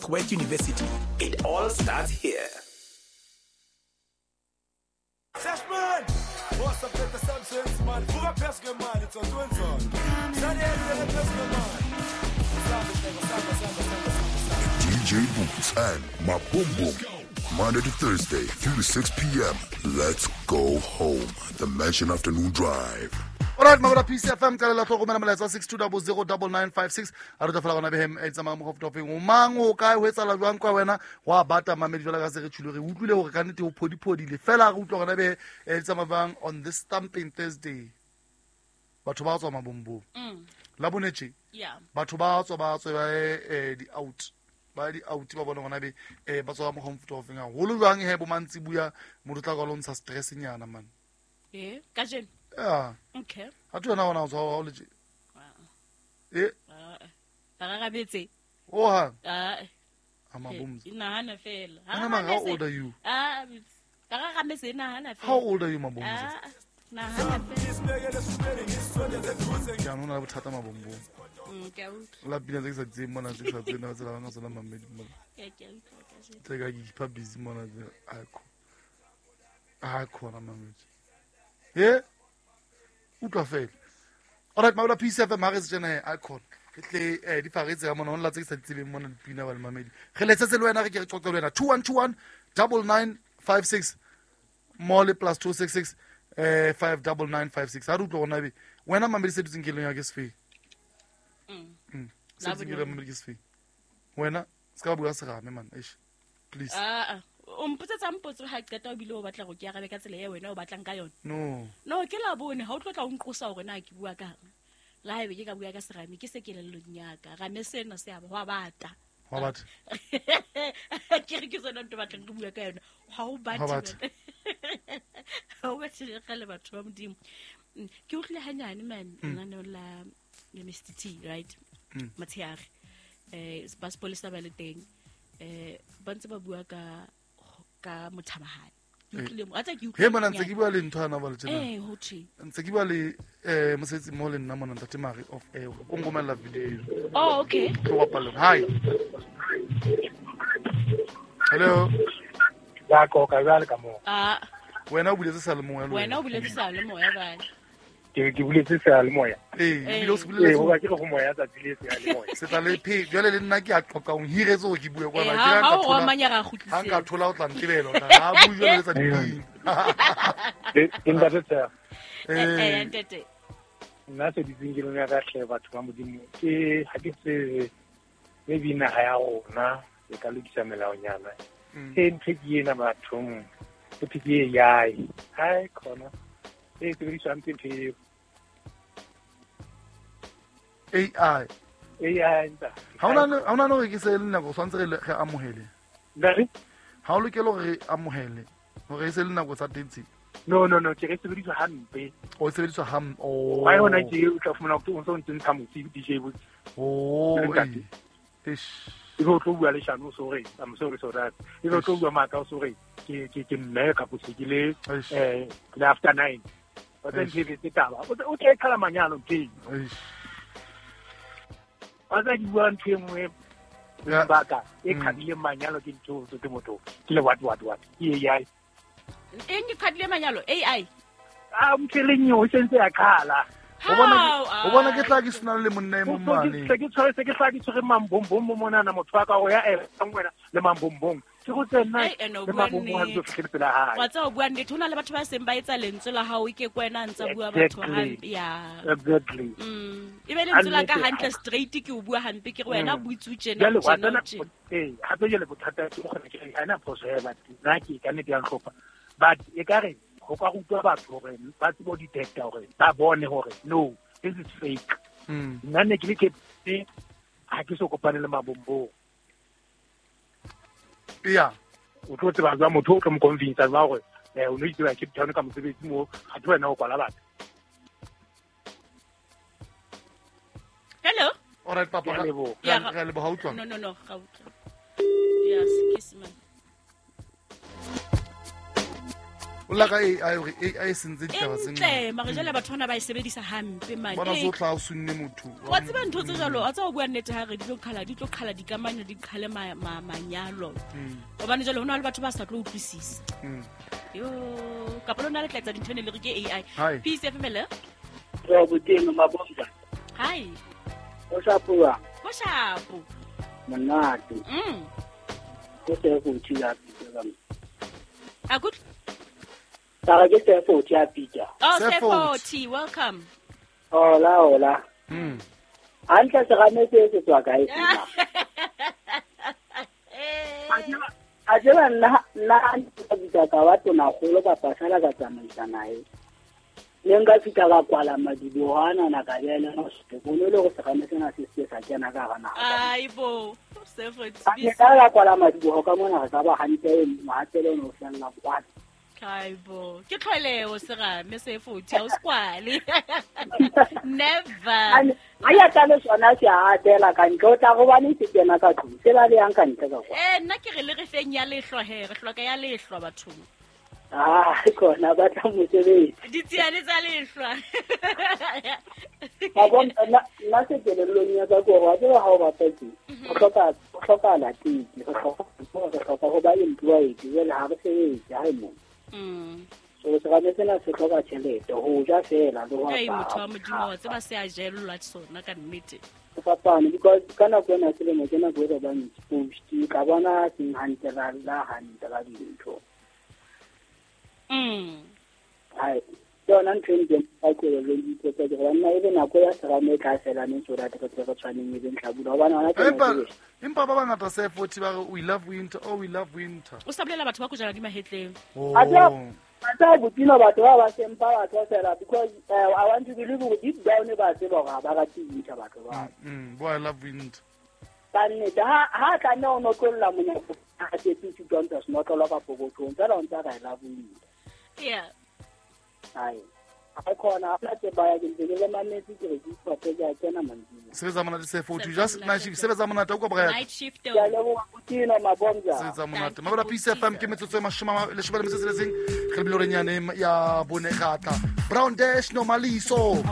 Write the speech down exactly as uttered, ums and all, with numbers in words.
Northwest University. It all starts here. D J Boots and Mabombom. Monday to Thursday, three to six p.m. Let's go home. The Mansion Afternoon Drive. All right, Mabura P C F M tla tlo romela molaetsa six two zero zero nine nine five six. A re tla fela gona behem e tsamaya mo gofotofeng. O mang o kae ho etsala jwang kwa wena wa bata mamedi jwala ka se re tshilo re utlwile hore ka nnete ho phodiphodile. Fela re utlwa gona be e tsamaya bang on this Thumping Thursday. Batho ba tswa Mabombom. Mm. La bonetse. Yeah. Batho ba tswa ba tswa ba eh di out. Ba di out ba bona gona be eh ba tswa mo gofotofeng. Haholo jwang he bo mantsi buya motho tla ka lontsha stress nyana man. Eh, ka jeno. Yeah. Okay. Ha tu na ona o tswa o letse. Eh. Ba ga betse. Oh ha. Ah. Amabumza. Nahana fela. How old are you? Ah, ba ga metse nahana fela. How old are you Mabumza? Ah, nahana fela. Ke a nona bothata Mabombo. Mm, ke a utlwa. La pina tse ke sa tsebeng mona tse sa tsena tse la bana tsona mamedi mona. Ke ke utlwa ka jeno. Tse ka ke keep busy mona tse a ko. A khona mamedi. Eh? Utlwa fela. All right, Mabula P C F M ha re se tjena a khona. Re tle eh di faretse ka mona hona tse ke sa di tsebeng mona dipina ba le mamedi. Re letsetse le wena re ke re qoqe le wena two one two one nine nine five six mole plus two six six eh five nine nine five six. Ha re utlwa gona be wena mamedi se dutseng keleng ya ke sefe. Mm. Mm. Se dutseng keleng mamedi ke sefe. Wena se ka bua serame man. Eish. Please. Ah ah. O mpotsetsa mpotso ha qeta o bile o batla go ke arabe ka tsela e wena o batlang ka yona. No. No, ke la bone ha o tlotla o nqosa hore na ke bua kang. La haebe ke ka bua ka serame ke se kelellong ya ka. Rame sena se a ba wa bata. Wa bata. Ke re ke sona ntho batlang ke bua ka yona. Ha o bate. Ha o bate le kgale batho ba Modimo. Ke utlwile hanyane man nna la le Mister T, right? Motshehare. Eh ba sepolesa ba le teng. Eh ba ntse ba bua ka ka mothamahane. Ke utlwile mo atsa ke utlwile. He mona ntse ke bua le ntho ana ba le tjena. Eh ho thwe. Ntse ke bua le eh mosetse mo le nna mona ntate Mari of eh o ngomela video. Oh okay. Ke wa paleng. Hi. Hello. Ya ko ka jwale ka mo. Ah. Wena o buletse sa le moya le. Wena o buletse sa le moya ba. Ke ke buletse sa le moya. Eh, ebile o se buletse. Eh, ho ba ke go moya tsatsi le se le moya. Se tla le phe, jwale le nna ke a qoqa o hiretse hore ke bue kwana. Ke ha o romanya ra kgutlisetse. Ha nka thola o tla ntebela o tla ha bue jwale le tsa dipina. Ke ntate tsa. Eh, ntate. Nna se ditseng ke lona ka hle batho ba Modimo. Ke ha ke tsebe maybe naha ya rona e ka lokisa melaonyana. E ntho ke ena bathong. Ke ke A I. Hai khona. E sebediswa hampe ntho eo. A I. A I nta. Ha ona ha ona no re ke se le nako tshwantse re re amohele. Nare? Ha o lokela hore re amohele hore e se le nako tsa teng. No no no ke re sebediswa hampe. O sebediswa ham oh. Wa yona ke o tla fumana o ntse o ntse ntsha motsi D J botse. Oh. Eish. E be o tlo bua leshano o so re I'm sorry so that. E be o tlo bua maka o so re ke ke ke mme ka potsekile eh le after nine. Ba tla ntse tse taba. O tla qala manyalo ke. Eish. Ba tla bua ntho e nngwe baka e qadile manyalo ke ntho tse motho. Ke le what what what. Ke A I. Eng e qadile manyalo A I. Ah mtheleng yo o sentse ya qala. O bona o bona ke tla ke sena le monna e mong mane. Ke tshware se ke tla ke tshwere mambombong mo monana motho wa ka o ya e wena le mambombong. Ke go tsena le mambombong ha ke fihle pela hae. Wa tsa o bua nnete hona le batho ba seng ba etsa lentswe la hao ke kwena ntsa bua batho hampe ya. Exactly. Mm. E be lentswe la ka hantle straight ke o bua hampe ke re wena buitse tjena tjena. Eh hape jele bothata ke go kgona ke re ana phoso ya batho. Nna ke ka nnete ya ntlhopha. But e ka re go ka rutwa batho hore ba tsebo detector hore ba bone hore no this is fake. Nna ne ke le ke ha ke so kopane le mabombo. Yeah. O tlo tseba jwa motho o tlo mo convince ba hore eh o no itse ba Cape Town ka mosebetsi mo ha tlo wena o kwala batho. Hello. All right papa. Re a leboha utlwa. No no no ga utlwa. Yes, kiss man. O la ka A I hore A I e sentse ditaba tse ntle mare jwale batho bana ba e sebedisa hampe mane bona zo tla o sunne motho wa tseba ntho tse jwalo a tsa o bua nnete ha re di tlo qhala di tlo qhala dikamano di qhale manyalo hobane jwale hona le batho ba sa tlo utlwisisa yo ka lona le tla etsa dintho ne le re ke A I Peace F M le re boteng mabonga hi o shapo o shapo monate mm ke se go tshila pitsa a good tara ke se go tshila pitsa oh Sefoti welcome hola hola mm hantle se rame se se tswa kae sena a jela nna nna ka bitsa ka wa tona golo kapa sala ka tsamaisa nae le nka fitla ka kwala madibohana na ka bela no se bone le go segame sena se se sa kena ka gana aibo Sefoti ke ka kwala madiboho ka mona re ka ba hantle mohatelo no fella kwa aibo ke tlholeo segame Sefoti ha o skwale never a ya tla le sona se a atela ka ntle o tla go bane se kena ka tlung se ba le yang ka ntle ka kwa eh nna ke re le re feng ya lehlwa he re hloka ya lehlwa bathong ah kona ba tla mosebetsi ditsiane tsa lehlwa ba bona nna nna se kelellong ya ka gore wa tseba ha o bapetse o hloka o hloka latiki re hloka re hloka ho ba employed jwale ha re sebetse ha e mo mm so serame sena se hloka tjhelete ho ja fela le ho apara motho wa Modimo wa tseba se a jellwa sona ka nnete fapane because ka nako ena selemo ke nako e re bang exposed ka bona seng hantle la la hantle ka dintho mm ai yona ntho e ke ka kelellong dipotsa ke gore nna ebe nako ya serame e tla fela neng so that re tle re tshwaneng e beng hlabula hobane hona ke empa empa ba bangata Sefoti ba re we love winter oh we love winter o sa bolela batho ba kojana di mahetleng oh a tsa botino batho ba ba sempa batho fela because uh, I want to believe gore deep down ba tseba gore ha ba rate winter batho ba mm boy I love winter ka nnete ha ha tla nne o notlolla monyako a tsepitse don't us notlolla ka pokothong fela o ntsa ka I love winter yeah ai a khona a tse ba ya ke ntse ke le mametse ke re ke iphope ke a kena mantsing sebetsa monate Sefoti just night shift sebetsa monate o ka bra night shift ke a leboha Botino mabonga sebetsa monate mabala Peace F M ke metsotso e mashome a leshome le metso e tsheletseng re bile hore nyane ya bone gatla Brown Dash Nomaliso.